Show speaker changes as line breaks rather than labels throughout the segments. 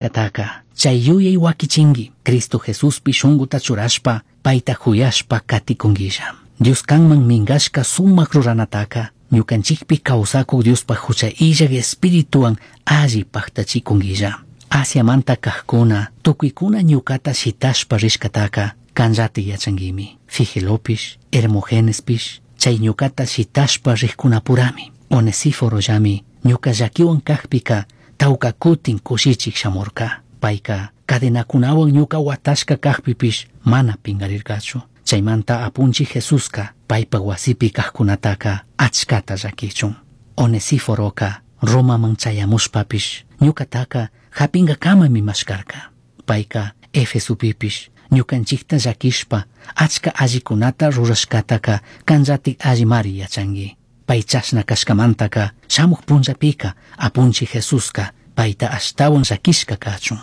Taka chay yuyay wakichingui Cristo Jesuspi shunguta churashpa payta huyashpa katikunguilla. Dios kanman mingashka sumak ruranataka ñukanchikpi kawsakuk Diospaj hucha illak espirituwan alli paktachikunguilla. Asiamanta kajkuna tukuykuna ñukata shitashpa rishkataka kanllati yachanguimi. Figelopish, Hermogenespish, chay ñukata shitashpa rijkunapurami. Onesíforollami ñuka llakiwan kajpika tawka kutin kushichik shamurka. Payka cadenakunawan ñuka watashka kajpipish mana pingarirkachu. Chaymanta apunchik Jesuska paypa wasipi kajkunataka achkata llakichun. Onesíforoka Romaman chayamushpapish ñukataka japinkakamami mashkarka. Payka Efesopipish ñukanchikta llakishpa achka allikunata rurashkataka kanllatik allimari yachanki. Pay chashna kashkamantaka shamuq punllapika apunchik Jesuska payta ashtawan llakishka kachun.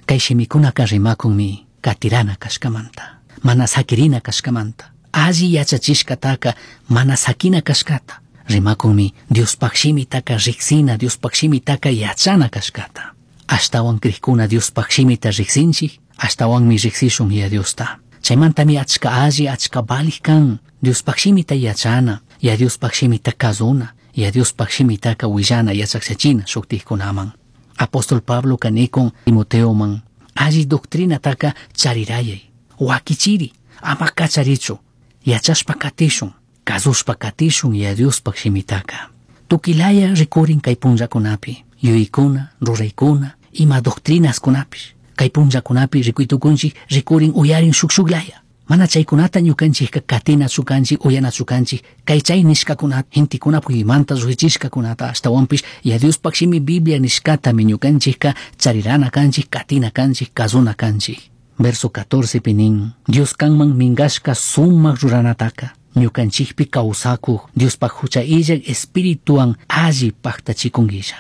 Kay shimikunaka rimakunmi katirana kashkamanta, mana sakirina kashkamanta, alli yachachishkataka mana sakina kashkata. Rimakunmi Diospaj shimitaka riksina, Diospaj shimitaka yachana kashkata. Ashtawan krikuna Diospaj shimita riksinchik, ashtawanmi riksishun ya Diosta. Chaymantami achka alli, achka valij kan Diospaj shimita yachana, ya Diospaj shimita kazuna, ya Diospaj shimitaka willana yachakchachina shuktikkunaman. Apóstol Pablo kanikun Timoteoman alli doctrinataka charirayay, wakichiri, ama kacharichu, yachashpa katishun, kazushpa katishun ya Diospaj shimitaka. Tukilaya rikurin kay punllakunapi, yuyaykuna, ruraykuna, ima doctrinaskunapish. Kay punllakunapi rikuytukunchik rikurin uyarin shuk shuklaya. Mana chaykunata ñukanchikka katinachu kanchik, uyanachu kanchik, kay chay nishkakunata, gentekuna puymanta lluqchichishkakunata ashtawanpish ya Diospaj shimi Biblia nishkatami ñukanchikka charirana kanchik, katina kanchik, kazuna kanchik. Verso 14 pi nin, Dios kanman mingashka sumak ruranataka, ñukanchikpi kawsakuk Diospaj hucha illak espirituwan alli paktachikunguilla.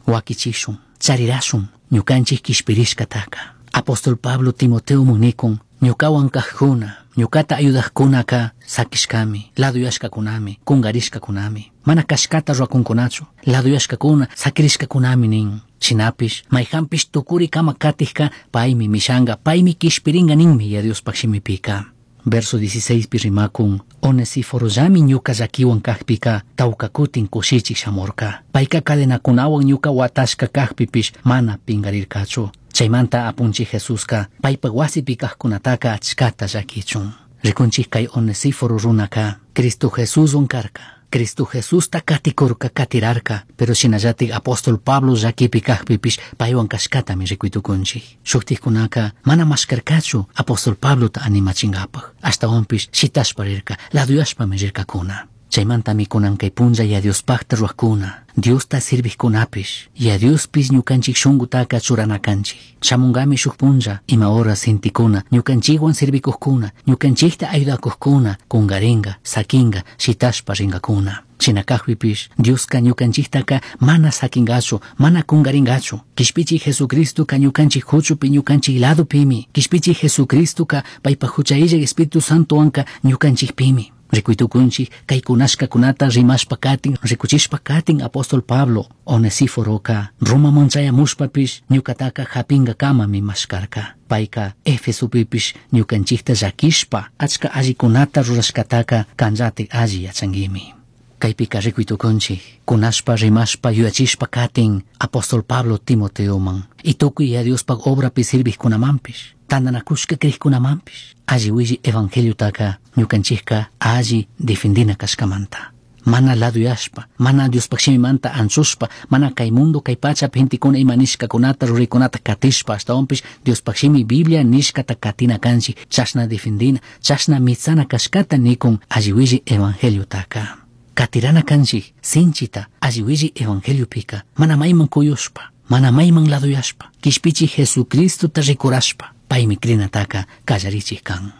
Wakichishun, charirashun, ñukanchik kishpirishkataka. Apóstol Pablo Timoteo nikun, ñukawan kajkuna, ñukata ayudajkunaka sakishkami, laduyashkakunami, kungarishkakunami. Mana kashkata ruwakunkunachu, laduyashkakuna, sakirishkakunami nin. Shinapish, mayjanpish tukurikama katijka, paymi mishanga, paymi kishpiringa ninmi ya Diospaj shimipika. Verso 16 pi rimakun, Onesiforollami ñuka llakiwan kajpika, tawka kutin kushichik shamurka. Payka cadenakunawan ñuka watashka kajpipish mana pingarirkachu. Chaymanta apunchik Jesuska paypa wasipi kajkunataka achkata llakichun. Rikunchik kay Onesíforo runaka Cristo Jesuswan karka. Cristo Jesusta katikurka, katirarka, pero shinallatik apóstol Pablo llakipi kajpipish paywan kashkatami rikuytukunchik. Shuktikkunaka mana mashkarkachu apóstol Pablota animachinkapaj. Ashtawanpish shitashpa rirka, laduyashpami rirkakuna. Chaymantami kunan kay punlla ya Diospajta ruwakuna, Diosta sirvijkunapish, ya Diospish ñukanchik shunkutaka churana kanchik. Shamungami shuk punlla, ima horas gentekuna, ñukanchikwan sirvikukkuna, ñukanchikta ayudakukkuna, kungaringa, sakinga, shitashpa ringakuna. Shina kajpipish, Dioska ñukanchiktaka mana sakingachu, mana kungaringachu. Kishpichik Jesucristoka ñukanchik huchupi ñukanchik ladopimi. Kishpichik Jesucristoka paypa hucha illak Espíritu Santowanka ñukanchikpimi. Rikuytukunchik kay kunashkakunata rimashpa katin, rikuchishpa katin apóstol Pablo Onesíforoka Romaman chayamushpapish ñukataka japinkakamami mashkarka. Payka Efesopipish ñukanchikta llakishpa achka allikunata rurashkataka kanllatik alli yachanguimi. Kaypika rikuytukunchik kunashpa rimashpa yuyachishpa katin apóstol Pablo Timoteoman y tukuy ya Diospaj obrapi sirvijkunamanpish tantanakushka krikkunamanpish alli willi evangeliotaka ñukanchikka alli defendina kashkamanta. Mana laduyashpa, mana Diospaj shimimanta anchushpa, mana kay mundo kay pachapi gentekuna ima nishkakunata ruraykunata katishpa, ashtawanpish Diospaj shimi Biblia nishkata katina kanchik, chashna defendina, chashna mitsana kashkata nikun alli willi evangeliotaka. Katirana kanchik sinchita alli willi evangeliopika, mana mayman kuyushpa, mana mayman laduyashpa, kishpichik Jesucristota rikurashpa, paymi krinataka kallarichik kan.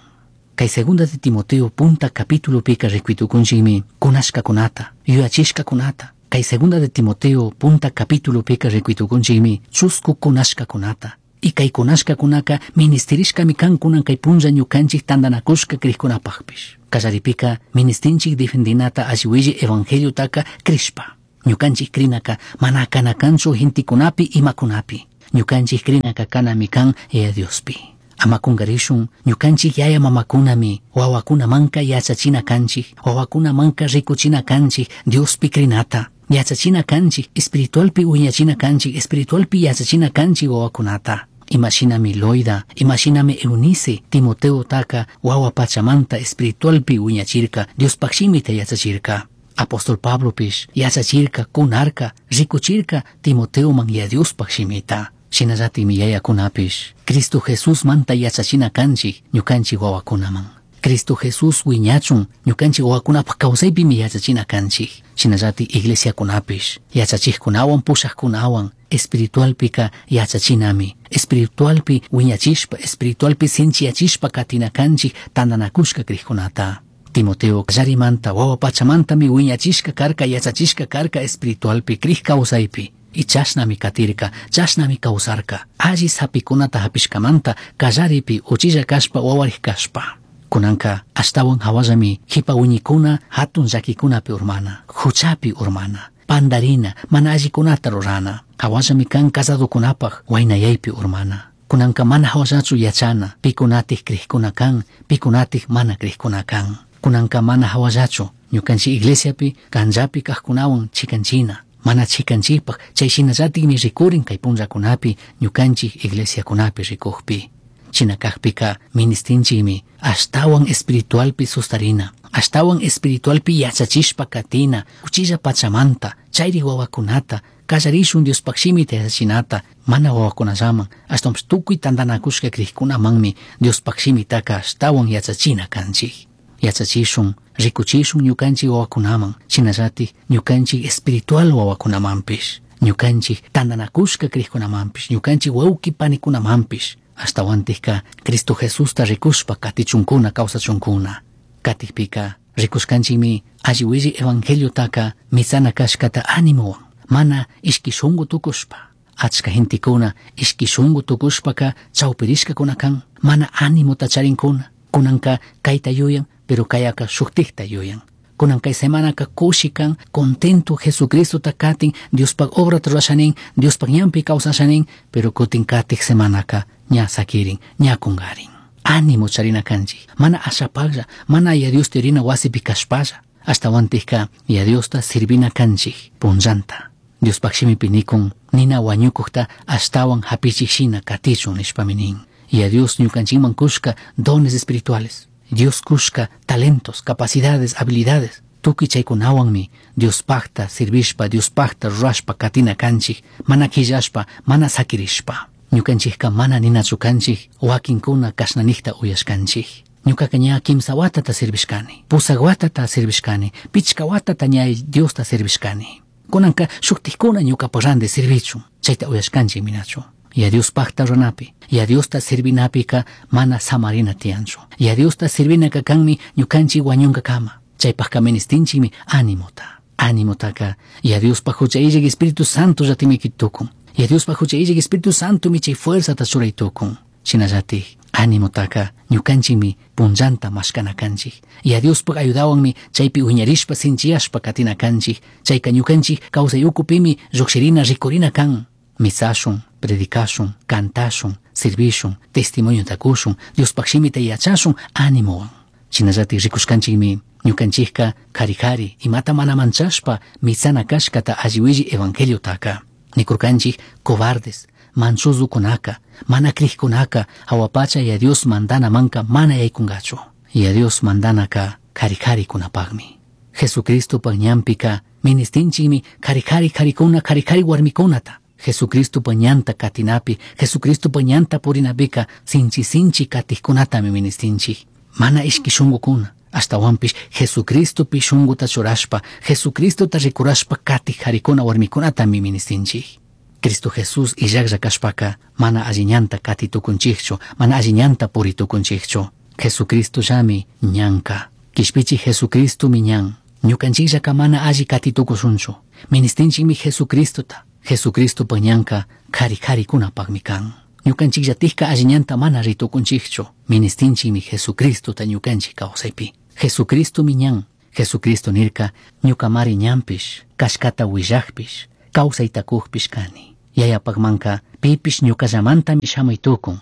Kay segunda de Timoteo punta capítulopika rikuytukunchikmi kunashkakunata, yuyachishkakunata. Kay segunda de Timoteo punta capítulopika rikuytukunchikmi chusku kunashkakunata. Y kay kunashkakunaka ministirishkami kan kunan kay punlla ñukanchik tantanakushka krikkunapajpish. Kallaripika ministinchik defendinata alli willi evangeliotaka krishpa. Ñukanchik krinaka mana kana kanchu gentekunapi imakunapi. Ñukanchik crinaka kanami kan Yaya Diospi. Ama kungarishun ñukanchik yaya mamakunami wawakunamanka yachachina kanchik, wawakunamanka rikuchina kanchik Diospi crinata. Yachachina kanchik, espiritualpi wiñachina kanchik, espiritualpi yachachina kanchik wawakunata. Imashinami Loida, imashinami Eunice, Timoteo taka wawa pachamanta espiritualpi wiñachirka, Diospaj shimita yachachirka. Apóstol Pablopish yachachirka, kunarka, rikuchirka Timoteoman ya Diospaj shimita. Shinallatikmi yayakunapish Cristo Jesús manta yachachina kanchik ñukanchik wawakunaman. Cristo Jesús wiñachun ñukanchik wawakunapaj kawsaypimi yachachina kanchik. Shinallatik iglesiakunapish yachachikkunawan pushakkunawan espiritualpika yachachinami. Espiritualpi wiñachishpa, espiritualpi sinchiyachishpa katina kanchik tantanakushka crijkunata. Timoteo kallarimanta wawa pachamantami wiñachishka karka, yachachishka karka espiritualpi crij kawsaypi. Y chashnami katirka, chashnami kawsarka. Alli sapikunata hapishkamanta kallaripi uchilla kashpa wawarik kashpa. Kunanka ashtawan hawallami jipa wiñikuna hatun llakikunapi urmana, huchapi urmana, pandarina, mana allikunata rurana. Hawallami kan casadokunapaj waynayaypi urmana. Kunanka mana hawallachu yachana, pikunatik crijkuna kan, pikunatik mana crijkuna kan. Kunanka mana hawallachu ñukanchik iglesiapi kanllapi kajkunawan chikanchina. Mana chikanchikpaj chay shinallatikmi rikurin kay punllakunapi ñukanchik iglesiakunapi rikukpi. China kajpika ministinchikmi ashtawan espiritualpi sustarina, ashtawan espiritualpi yachachishpa katina, uchilla pachamanta, chayri wawakunata, kallarishun Diospaj shimita yachachinata, mana wawakunallaman, ashtawanpish tukuy tantanakushka crijkunamanmi Diospaj shimitaka ashtawan yachachina kanchik. Yachachishun, rikuchishun ñukanchik wawakunaman, shinallatik ñukanchik espiritual wawakunamanpish, ñukanchik tantanakushka crijkunamanpish, ñukanchik wawqi panikunamanpish, ashtawantikka Cristo Jesusta rikushpa katichunkuna kawsachunkuna. Katikpika rikushkanchikmi alli willi evangeliotaka mitsana kashkata animowan, mana ishki shunku tukushpa. Achka gentekuna ishki shunku tukushpaka chawpirishkakuna kan, mana animota charinkuna. Kunanka kayta yuyan, pero kayaka shuktikta yuyan. Kunan kay semanaka kushi kan, contento Jesucristota katin, Diospaj obrata rurashanin, Diospaj ñanpi kawsashanin, pero kutin katik semanaka ña sakirin, ña kungarin. Ánimo charina kanchik, mana ashapalla, mana ya Diosta rina wasipi kashpalla, ashtawantikka ya Diosta sirvina kanchik, punllanta. Diospaj shimipi nikun, nina wañukukta ashtawan hapichik shina katichun nishpami nin. Ya Dios ñukanchikman kushka dones espirituales, Dios kushka talentos, capacidades, habilidades. Tukuy chaykunawanmi Diospajta sirvishpa, Diospajta rurashpa katina kanchik, mana quillashpa, mana sakirishpa. Ñukanchikka mana ninachu kanchik, wakinkuna kashnanikta uyashkanchik. Ñukaka ña kimsa watata sirvishkani, pusak watata sirvishkani, pichka watata ña Diosta sirvishkani. Kunanka shuktikkuna ñukapaj randi sirvichun, chayta uyashkanchik minachu. Ya Diospajta ruranapi, ya Diosta sirvinapika mana samarina tiyanchu. Ya Diosta sirvinaka kanmi ñukanchik wañunkakama. Chaypajka ministinchikmi animota. Animotaka ya Diospaj hucha illak Espíritu Santo llatimi tukun. Ya Diospaj hucha illak Espíritu Santo mi chay fuerzata churay tukun. Shinallatik animotaka ñukanchikmi punllanta mashkana kanchik. Ya Diospaj ayudawanmi chaypi wiñarishpa sinchiyashpa katina kanchik. Chayka ñukanchik kawsay ukupimi lluqshirina rikurina kan. Mitsashun, predicashun, cantashun, sirvishun, testimoniota kushun, Diospaj shimita yachashun animowan. Shinallatik rikushkanchikmi ñukanchikka kari kari imata mana manchashpa mitsana kashkata alli willi evangeliotaka. Nikurkanchik cobardes, manchuzukunaka, mana crijkunaka, hawa pacha ya Dios mandanamanka mana yaykungachu. Ya Dios mandanaka kari kari kunapajmi. Jesucristopaj ñanpika ministinchikmi kari kari karikuna, kari kari warmikunata. Jesucristopaj ñanta katinapi, Jesucristopaj ñanta purinapika sinchi sinchi katikkunatami ministinchik. Mana ishki shunkukuna, ashtawanpish Jesucristopi shunkuta churashpa, Jesucristota rikurashpa katik karikuna warmikunatami ministinchik. Cristo Jesús illaklla kashpaka mana alli ñanta kati tukunchikchu, mana alli ñanta puri tukunchikchu. Jesucristo llami ñanka. Kishpichi Jesucristomi ñan. Ñukanchikllaka mana alli kati tukushunchu. Ministinchikmi Jesucristota. Jesucristopa ñanka kari karikunapakmi kan. Ñukanchikllatikka alli ñanta mana ritukunchikchu. Ministinchikmi Jesucristota ñukanchik kawsaypi. Jesucristomi ñan. Jesucristo nirka ñukamari ñanpish, kashkata willakpish, kawsaytakukpish kani. Yayapaqmanqa pipish ñuqallamantami shamuy tukun.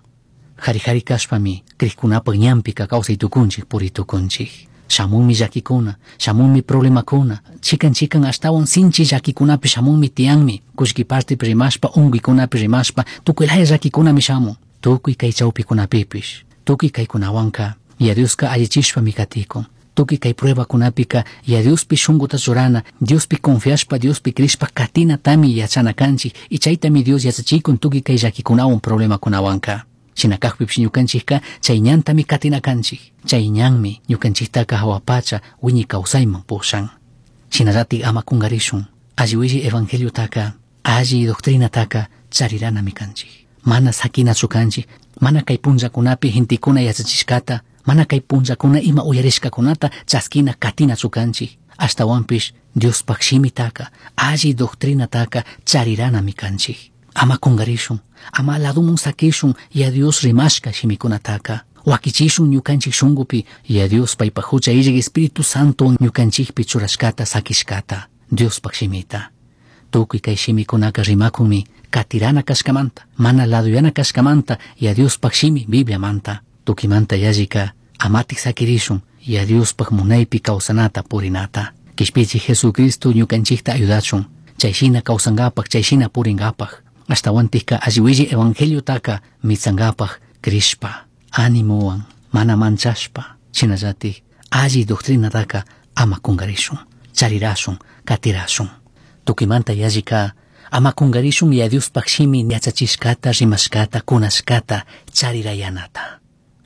Jari jari kashpami crijkunapaq ñanpika kawsay tukunchik puri tukunchik. Shamunmi llakikuna, shamunmi problemakuna, chikan chikan ashtawan sinchi llakikunapi shamunmi tiyanmi, kullki partipi rimashpa, unkuykunapi rimashpa, tukuy laya llakikunami shamun. Tukuy kay chawpikunapipish, tukuy kaykunawanka ya Dioska allichishpami katikun. Tukuy kay pruebakunapika ya Diospi shunkuta churana, Diospi confiashpa, Diospi crishpa katinatami yachana kanchik y chaytami Dios yachachikun tukuy kay llakikunawan problemakunawanka. Shina kajpipish ñukanchikka chay ñantami katina kanchik. Chay ñanmi ñukanchiktaka hawa pacha wiñay kawsayman pushan. Shinallatik ama kungarishun. Alli willi evangeliotaka, alli doctrinataka chariranami kanchik. Mana sakinachu kanchik, mana kay punllakunapi gentekuna yachachishkata, mana kay punllakuna ima uyarishkakunata chaskina katinachu kanchik. Ashtawanpish Diospaj shimitaka, alli doctrinataka chariranami kanchik. Ama kungarishun, ama ladumun sakishun ya Dios rimashka shimikunataka. Wakichishun ñukanchik shunkupi ya Dios paypaj hucha illak Espíritu Santo ñukanchikpi churashkata sakishkata Diospaj shimita. Tukuy kay shimikunaka rimakunmi katirana kashkamanta, mana laduyana kashkamanta ya Diospaj shimi Bibliamanta. Tukimanta yallika amatik sakirishun ya Diospaj munaypi kawsanata purinata. Kishpichi Jesucristo ñukanchikta ayudachun, chayshina kawsankapaj, chayshina purinkapaj. Ashtawantikka alli evangeliotaka mitsankapaj crishpa, animowan, mana manchashpa, shinallatik alli doctrinataka ama kungarishun, charirashun, katirashun. Tukimanta yallika ama kungarishun ya Diospaj shimi yachachishkata, rimashkata, kunashkata, charirayanata.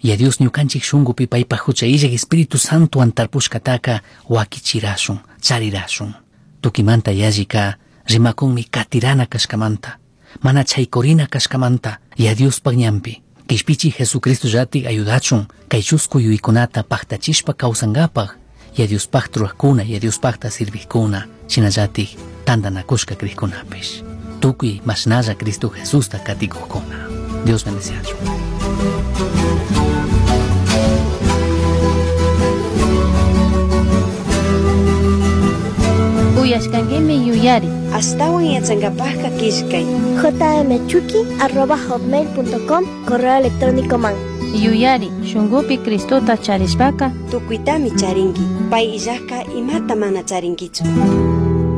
Ya Dios ñukanchik shunkupi paypaj hucha illak Espíritu Santowan tarpushkataka wakichirashun, charirashun. Tukimanta yallika rimakunmi katirana kashkamanta, mana chaykurina kashkamanta, ya Diospaj ñanpi. Kishpichi Jesucristo llatik ayudachun kay chusku yuyaykunata paktachishpa kawsankapaj, ya Diospajta rurajkuna, ya Diospajta sirvijkuna, shinallatik tantanakushka crijkunapish. Tukuy mashnalla Cristo Jesusta katikujkuna. Dios bendeciachun.
Uyashkankimi yuyari.
Ashtawan yachankapajka killkay.
jmchuki@hotmail.com correo electrónico man.
Yuyari, shunkupi Cristota charishpaka
Tukuytami charinki. Pay illajka imata mana charinkichu.